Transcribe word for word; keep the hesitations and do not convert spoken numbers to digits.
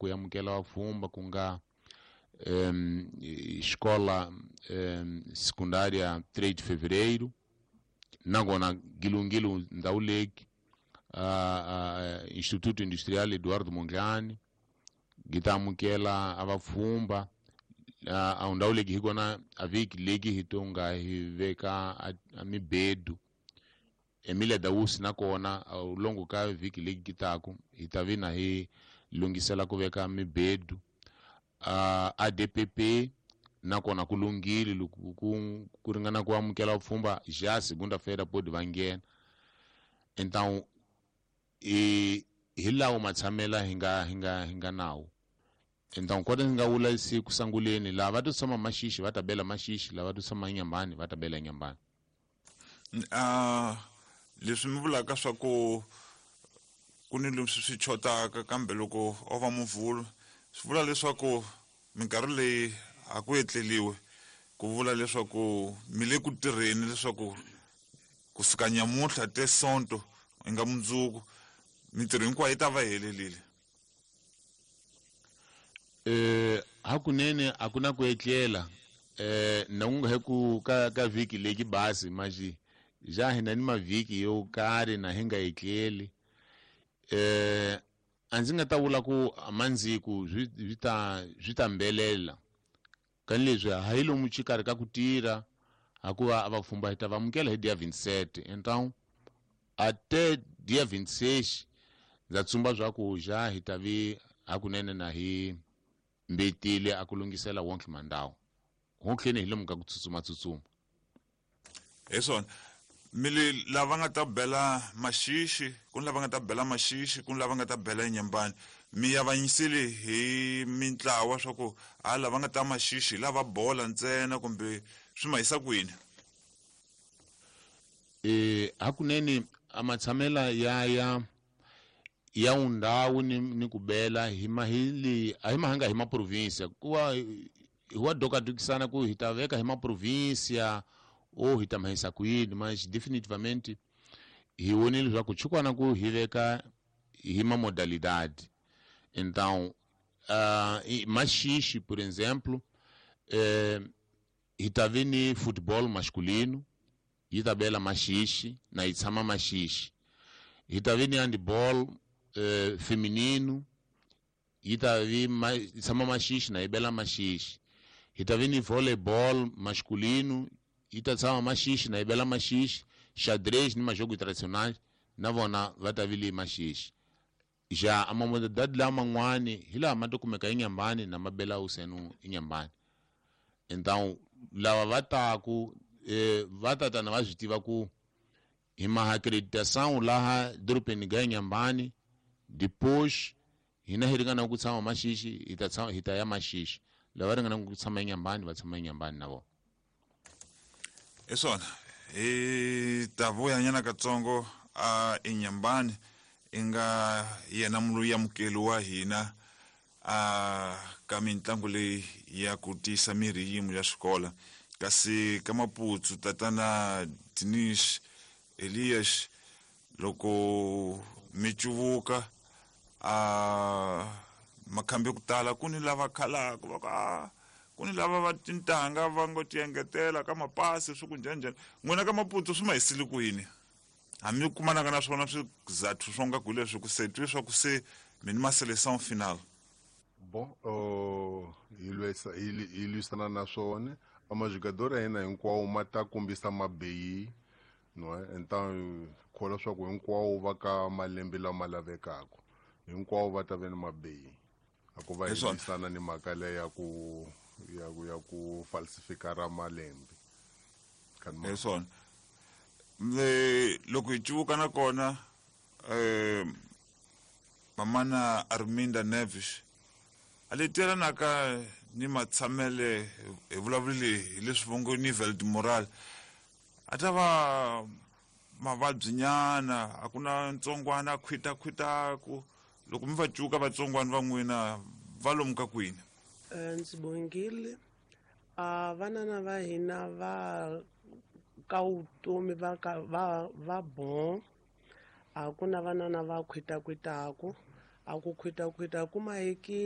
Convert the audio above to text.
ku amukela vapfhumba ku nga um, escola um, secundária três de fevereiro, nakona gilungilo ndhawu leki uh, uh, Instituto Industrial Eduardo Mondlane gi ta amukela a vapfhumba uh, a ndhawu leki hi kona a vhiki leki hi to nga hi veka a, a mibedu Emilia Dausi nakona longo ka vhiki leki ki taku hi ta vi na hi lunghisela ku veka mibedu uh, A D P P nakona ku lunghile loko ku ku ringana ku amukela vapfhumba já segunda-feira pode va nghena. Então e hi lawo matshamela hi nga hi nga hi nga nawo. Então kota ndzi nga vula siku sanguleni lava va to tshama Maxixi va ta bela Maxixi, lava to tshama Nyambani va ta bela Nyambani. Ah, leswi mi vulaka swa ku ku ni leswi swi chotaka kambe loko o va muvhulu swi vula leswaku minkarhi leyi a ku etleliwe, ku vula leswaku mi le ku tirheni leswaku kusuka nyamuntlha te sonto i nga mundzuku mintirho hinkwayo yi ta va helelile. Eh hakunene a ku na ku etlela eh na ku nga he ku ka ka vhiki leki basi maji ja hina ni mavhiki yo karhi na hi nga etleli. Eh a ndzi nga ta vula ku mandziku swi swi ta swi ta mbelela kani leswi a hi lomu xikarhi ka ku tirha hikuva a vapfhumba hi ta va amukela hi dia vinte e sete. Então até dia vinte e seis ndza tsumba swa ku ja hi ta vi hakunene na hi mbetile a ku lunghisela wonke mandawo wonke hi lomu ka ku tsutsuma tsutsuma. Hi swona mi le lava nga ta bela Maxixi ku ni lava nga ta bela Maxixi ku ni lava nga ta bela Nyambani mi avanyisile hi mintlawa swa ku a lava nga ta Maxixi lava bola ntsena kumbe swi ma yisa kwini? Eh hakunene a matshamela ya ya ya undhawu ni, ni ku bela hi mahili a hi mahanga hi maprovinsia kuva hi wa dokadukisana ku hi ta veka hi maprovinsia ou hi ta mahisa kwini, mas definitivamente hi vonile leswaku chukwana ku hi veka hi ma modalidade. Então uh, Maxixi, por exemplo, eh, hi ta vi ni futebol masculino yi ta bela Maxixi na yi tshama Maxixi. Hi ta vi ni handball eh, feminino yi ta vi ma, yi tshama Maxixi na yi bela Maxixi. Hi ta vi ni volleyball masculino yi ta tshama Maxixi na yi bela Maxixi. Xadrez ni majogo tradicionais na vona va ta vi le Maxixi. Já a mamodalidade laman'wani hi laha ma to kumeka eNyambani na ma bela usenu eNyambani. Então lava va taku eh, va tatana va swi tiva ku hi ma acreditação laha dorobeni ga Nyambani, depois hina hi ringana ku tshama Maxixi hi ta tshama hi ta ya Maxixi, lava ringana ku tshama eNyambani va tshama eNyambani na vona. Hi swona hi ta vuya nyana katsongo a eNyambani i nga yena munhu amukeli wa hina a ka mitlangu leyi ya ku tiyisa miri yimo ya xikolo. Kasi ka Maputsu tatana Dinish Elias loko mi cuvuka a makhambi ku tala ku ni lava khalaka va ku a ku ni lava va tintanga va ngo ti engetela ka mapasi swi ku njhani njhani. N'wina ka Maputsu swi ma hisile kwini? Hambi kumanaka na swona swizathu swo nga ku leswi ku se twi swa ku se mi ni ma seleção final. Bon, uh, hi lwisa hi lwisana na swona a majogador ya hina hinkwawo ma ta kombisa mabeyi, no então kholwa swa ku hinkwawo va ka malembe lama lavekaka hinkwawo va ta ve ni mabeyi a ku va hi lwisana ni mhaka leyi ya ku ya ku ya ku falsifikara malembe. Hi swona le loko hi cuvuka na kona eh mamana Arminda Neves a le telanaka ni matshamele hi vulavulile hi leswi vongo nivel de moral a ta va mavabyi nyana a ku na ntsongwana a khwitakhwitaku loko mi va cuka vatsongwana va n'wina va lomu ka kwini? Ndzi bongile a vanana va hina va ka vutomi va ka va va bon a ku na vanana va khwitakhwitaku a ku khwitakhwita ku mahekile.